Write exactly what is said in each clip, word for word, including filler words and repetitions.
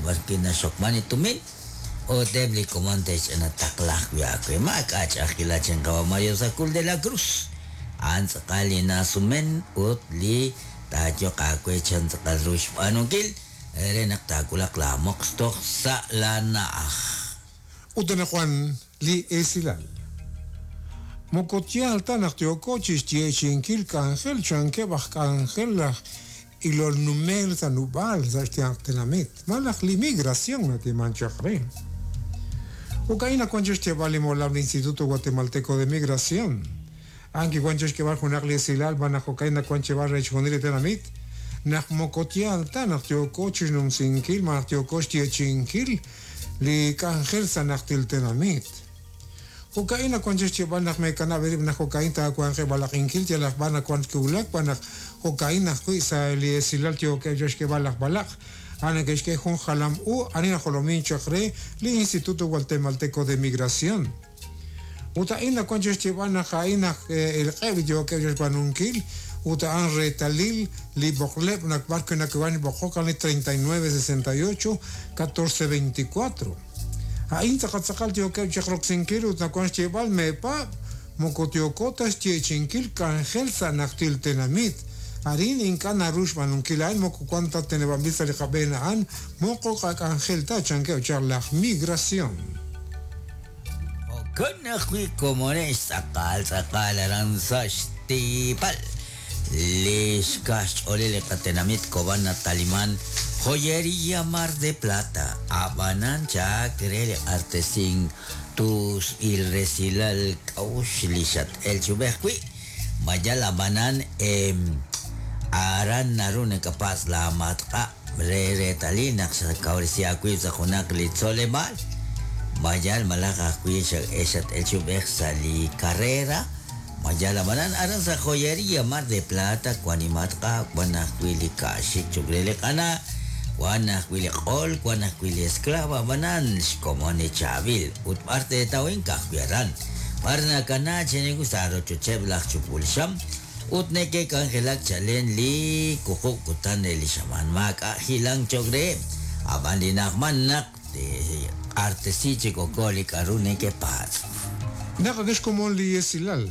b'ar wi' naxokman li tumin ut eb' li komon te'xch'ina taqla ajwi' aawe maak'a' ch'a'ajkilal chan qawa' Mario Sacul de la Cruz a'an tz'aqal li nasumen ut li taayoq aawe chan tz'aqal ru xb'aanunkil re naq taawulaq la moqs toj sa' la na'aj. Ut anaqwan li esilal. Moko yaal ta naq yooko chixyeechi'inkil k'anjel chankeb' aj k'anjel laj ilol numel sa' nub'aal sa' xyanq tenamit malaj li migración natiman chaq re. Jo'ka'in nawan chixyeeb'al li molam li Instituto Guatemalteco de Migración. A'an kiwan chixk'eeb'al junaq li esilal b'an naq jo'ka'in nawan cheb'al re chixjunil li tenamit naq moko yaal ta naq yooko chixnumsinkil malaj yooko xyeechi'inkil li k'anjel sa' najtil tenamit. Jo'ka'in nawan chixyeeb'al naq meekanab' eerib' naq jo'ka'in taawanqeb' b'alaq'inkil yalaq b'ar nawan kiwulak b'an naq jo'ka'in ajwi' sa' li esilal yookeb' chixk'eeb'al laj b'alaq a'an neke'xk'e jun jalam u ani najolomin chaq re li Instituto Guatemalteco de Migración. Ut a'in nawan chixyeeb'al naq a'in naq elq'eb' li yookeb' chixb'aanunkil ut a'an reetalil li b'oqleb' naq b'ar wi' nakiwan b'oqok a'an li treinta y nueve sesenta y ocho catorce veinticuatro. A'in tz'aqal tz'aqal yookeb' chaq roksinkil ut nawan xyeeb'al meepaab' moko yooko ta xyeechi'inkil k'anjel sa' najtil tenamit. Arin ink'a' naru xb'aanunkil a'in moko wan ta teneb'anb'il sa' li qab'een a'an moko qak'anjel ta chankeb' chaq laj migración. Jo'kan ajwi' komonex tz'aqal tz'aqal aran sa' xtiipal. Li xkaxch'oolil li qatenamit Cobán nataliman Joyería Mar de Plata ab'anan chak re li q'artesink tus il resilal k'awux li xat'el chub'ej wi' mayal ab'anan em aran naru nakapas la matqa re reetalil naq xakawresi aawib' sa' junaq li tzoleb'aal mayal malaj ajwi' xat'el chub'ej sa' li carrera mayal ab'anan aran sa' Joyería Mar de Plata wan li matqa wan ajwi' li ka'xik chok re li q'ana wan ajwi' li q'ol wan ajwi' li esclava ab'anan xkomon li chaab'il ut b'ar teetawin ka'ajwi' aran b'ar nakana cheniku sa' rochocheb' laj chupul xam ut neke'k'anjelak chalen li wuqub' kutan re li xamaan maak'a' jilan chok reheb' ab'an li naqman naq q'artesi chik oko li k'aru neke'patz'. Naq akexkomon li esilal.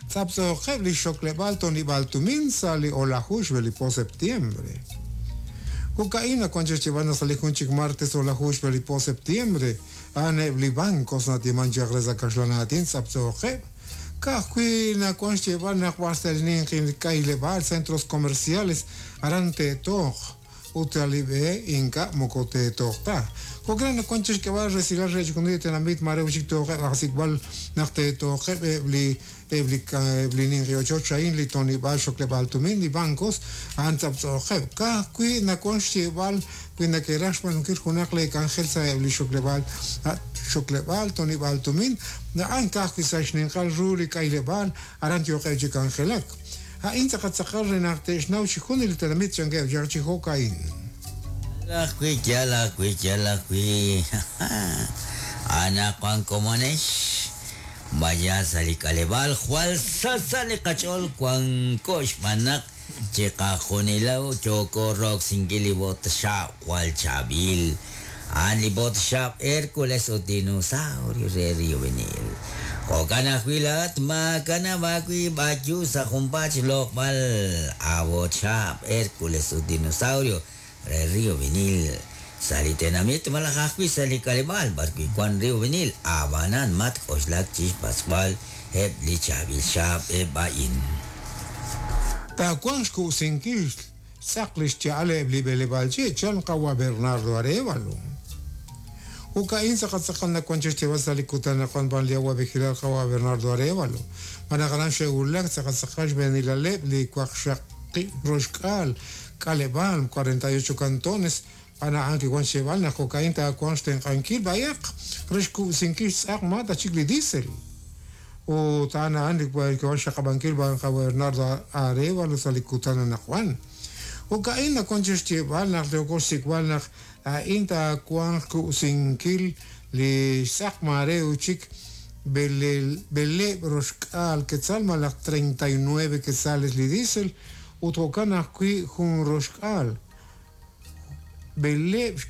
Tz'aptz'oqeb' li xokleb'aal tonib'al tumin sa' li olajux b'e li po septiembre. Jo'ka'in nawan chixyeeb'al naq sa' li jun chik martes olajux b'e li po septiembre a'aneb' li bancos natiman chaq re sa' kaxlan aatin tz'aptz'oqeb'. Ka'ajwi' nawan xyeeb'al naq b'ar sa' li ninqi k'ayleb'aal centros comerciales aran te'tooq ut li b'e inka' moko te'tooq ta. Jo'kan nawan chixk'eeb'al resilal re chixjunil li tenamit mare chik tooqeb' ajsikb'al naq te'tooqeb' eb' li eb' li eb' li ninqi ochoch a'in li tonib'aal xokleb'aal tumin li bancos a'an tz'aptz'oqeb'. Ka'ajwi' nawan xyeeb'al wi neke'raj xb'aanunkil junaq li k'anjel sa' eb' li xokleb'aal xokleb'aal tonib'aal tumin a'an ka'ajwi' sa' xninqal ru li k'ayleb'aal aran yooqeb' chi k'anjelak. A'in tz'aqal tz'aqal re naq te'xnaw chixjunil li tenamit chankeb' chaq chi jo'ka'in. Ajwi' yal ajwi' yal ajwi' anaqwan komonex vaya sa' li k'aleb'aal jwal sa' li qach'ool wanko xb'aan naq chiqajunilaw yooko roksinkil li botxab' jwal chaab'il a'an li botxab' Hércules ut dinosaurio re Río Vinil. Jo'kan ajwi' laa'at maakanab' aawib' b'ayu sa' junpaat xloq'b'al abotxab' Hércules ut dinosaurio re Río Vinil. Sa' li tenamit malaj ajwi' sa' li k'aleb'aal b'ar wi' wan Río Vinil ab'anan matk'oxlak chixpatz'b'al eb' li chaab'il xaab' eb' a'in. Taawanq xku'sinkil tz'aq li xcha'al eb' li b'eleb'aal chi' chan qawa' Bernardo Arévalo. Jo'ka'in tz'aqal tz'aqal nawan chixyeeb'al sa' li kutan naqwan b'an li awa' vigilar qawa' Bernardo Arévalo. B'an aran xe'wulak tz'aqal tz'aqal xb'eenilaleb' li waqxaqib' roxk'aal k'aleb'aal cuarenta y ocho cantones b'an a'an kiwan xyeeb'al naq jo'ka'in taawanq xtenq'ankil b'ayaq re xku'sinkil xtz'aq ma ta chik li diesel. Ut a'an a'an li kiwan xaqab'ankil b'an qawa' Bernardo Arévalo sa' li kutan anaqwan. Jo'ka'in nawan chixyeeb'al naq yooko xsik'b'al naq a'in taawanq ku'sinkil li xtz'aq mare uchik b'eleb' roxk'aal quetzal malaj treinta y nueve quetzales li diesel ut jo'kan ajwi' jun roxk'aal b'eleb'